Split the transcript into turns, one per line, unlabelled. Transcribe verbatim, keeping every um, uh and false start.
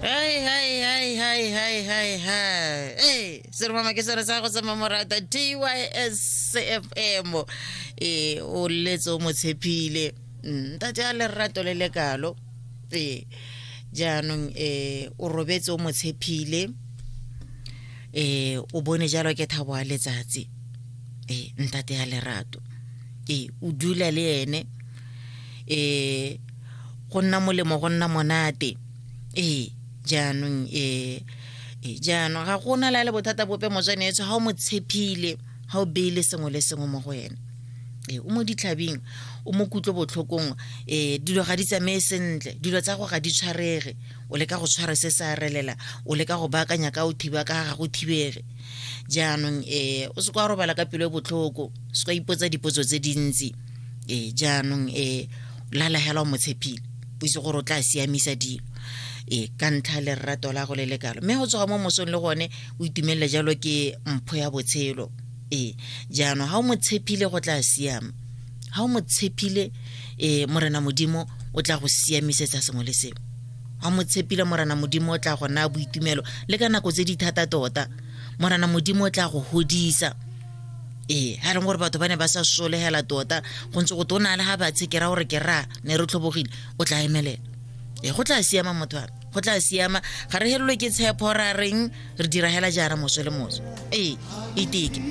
Hai hai hai hai hai hai hai. Ee, seromama ke sone sa go sa mamorata T Y S F M. Ee, o letse o mo tshepile. Ntate a lerato le lekalo. Ee, jaanong eh o robetse o mo tshepile. Ee, o bone jalo ke thabo a letsatsi. Ee, ntate a lerato. Ee, o dula le ene. Ee, go nna molemo go nna monate. Ee, jaanong eh jaanong ga gona la le bothata bope motswanetso ha o mo tshepile, ha o beile sengwe le sengwe mo go ene. Ee, o mo ditlhabing, o mo kutlo botlhokong, eh dilo ga di tsamaye sentle, dilo tsa go ga di tshwarege, o leka go tshwara se sa relela, o leka go baakanya ka o thiba ka ga go thibege. Jaanong eh o se kwa robala ka pelo e botlhoko, se kwa ipotsa dipotso tse dintsi. Ee, jaanong eh lala hela o mo tshepile, o itse gore o tla siamisa dilo. E ka ntlha le lerato la go le lekalo, mme go tsoga mo mosong le gone o itumelela jalo ke mpho ya botshelo. E jaanong ha o mo tshepile go tla siama, ha o mo tshepile e Morena Modimo o tla go siamisetsa sengwe le sengwe. Ha o mo tshepile Morena Modimo o tla go naya boitumelo le ka nako tse di thata tota, Morena Modimo o tla go hodisa. Ee, ha e leng gore batho ba ne ba sa solegela tota, go ntse go tona le ha ba tshekera gore ke ra ne re tlhobogile, o tla emelela. E go tla siama motho wa me, go tla siama, ga re helelwe ke tshepo ra reng re dira hela jaana moso le moso. Ee, iteke.